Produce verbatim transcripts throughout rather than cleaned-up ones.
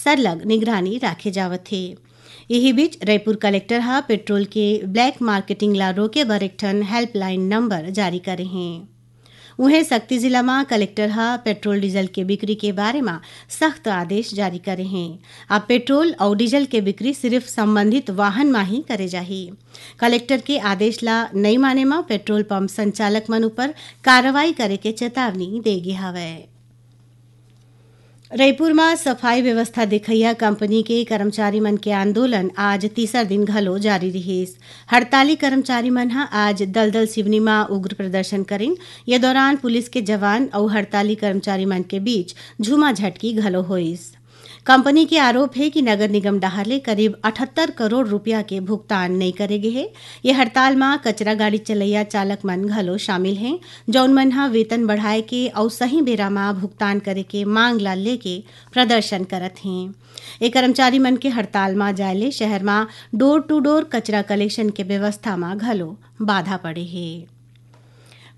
सरलग निगरानी राखे जावत हे। इही बीच, रईपुर कलेक्टर ह पेट्रोल के ब्लैक मार्केटिंग ला रोके बर एक ठन हेल्पलाइन नंबर जारी करे हें। उहें, सक्ती जिला म कलेक्टर ह पेट्रोल डीजल के बिक्री के बारे म सख्त आदेश जारी करे हें। अब पेट्रोल अउ डीजल के बिक्री सिर्फ संबंधित वाहन म ही करे जाही। कलेक्टर के आदेश ला नइ माने म पेट्रोल पंप संचालक मन ऊपर कार्रवाई करे के चेतावनी दे गे हवय। रईपुर म सफाई व्यवस्था देखइया कंपनी के कर्मचारी मन के आंदोलन आज तीसर दिन घलो जारी रिहिस। हड़ताली कर्मचारी मन ह आज दलदल सिवनी म उग्र प्रदर्शन करिन। ये दौरान पुलिस के जवान अउ हड़ताली कर्मचारी मन के बीच झूमाझटकी घलो होइस। कंपनी के आरोप हे कि नगर निगम डहार ले करीब अठहत्तर करोड़ रुपया के भुगतान नइ करे गे हे। ये हड़ताल म कचरा गाड़ी चलइया चालक मन घलो शामिल हें, जौन मन ह वेतन बढ़ाए के अउ सही बेरा म भुगतान करे के मांग ला लेके प्रदर्शन करत हें। ए कर्मचारी मन के हड़ताल म जाए ले शहर म डोर टू डोर कचरा कलेक्शन के व्यवस्था म घलो बाधा पड़े हे।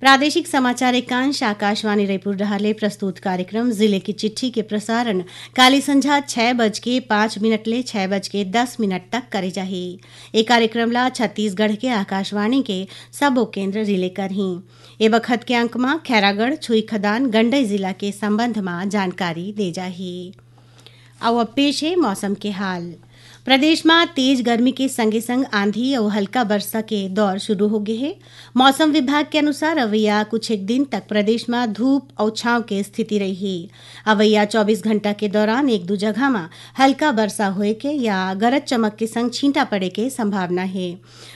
प्रादेशिक समाचार एकांश आकाशवाणी रईपुर डहार ले प्रस्तुत कार्यक्रम जिले की चिट्ठी के प्रसारण काली संझा छह बज के पाँच मिनट ले छह बज के दस मिनट तक करे जाही। ए कार्यक्रम ला छत्तीसगढ़ के आकाशवाणी के सबो केंद्र रिले करही। ए बखत के अंक म खैरागढ़, छुईखदान, गंडई जिला के संबंध म जानकारी दे जाही। अउ अब पेश हे मौसम के हाल। प्रदेश म तेज गर्मी के संगे संग आंधी अउ हल्का बरसा के दौर शुरू हो गे हे। मौसम विभाग के अनुसार अवइया कुछ एक दिन तक प्रदेश म धूप अउ छांव के स्थिति रही। अवइया चौबीस घंटा के दौरान एक दू जगह म हल्का बरसा होए के या गरज चमक के संग छींटा पड़े के संभावना हे।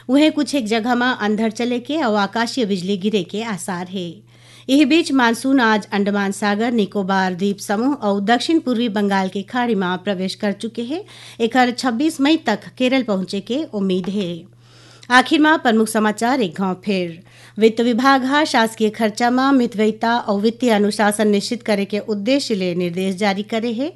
उहें, कुछ एक जगह म अंधड़ चले के अउ आकाशीय बिजली गिरे के आसार हे। इही बीच, मानसून आज अंडमान सागर, निकोबार द्वीप समूह अउ दक्षिण पूर्वी बंगाल के खाड़ी म प्रवेश कर चुके हे। एकर छब्बीस मई तक केरल पहुंचे के उम्मीद हे। आखिर म प्रमुख समाचार एक घांव फेर। वित्त विभाग ह शासकीय खर्चा म मितव्ययिता अउ वित्तीय अनुशासन निश्चित करे के उद्देश्य ले निर्देश जारी करे हे।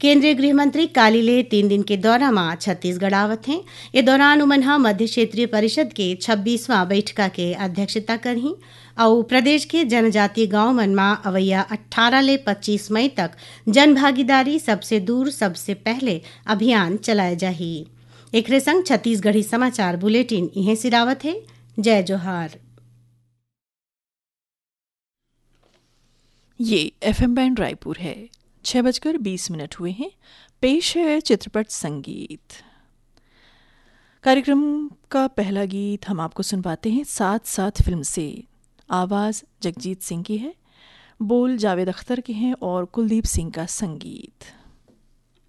केंद्रीय गृह मंत्री काली ले तीन दिन के दौरा म छत्तीसगढ़ आवत हें। ए दौरान उमन ह मध्य क्षेत्रीय परिषद के छब्बीसवां बैठका के अध्यक्षता करही अउ प्रदेश के जनजातीय गांव मन म अवइया अट्ठारह ले पच्चीस मई तक जन भागीदारी सबसे दूर सबसे पहले अभियान चलाए जाही। एकरे संग छत्तीसगढ़ी समाचार बुलेटिन इहें सिरावत हे। जय जोहार। ये एफएम बैंड रायपुर है। छह बजकर बीस मिनट हुए हैं। पेश है चित्रपट संगीत। कार्यक्रम का पहला गीत हम आपको सुनवाते हैं साथ साथ फिल्म से। आवाज़ जगजीत सिंह की है, बोल जावेद अख्तर के हैं और कुलदीप सिंह का संगीत।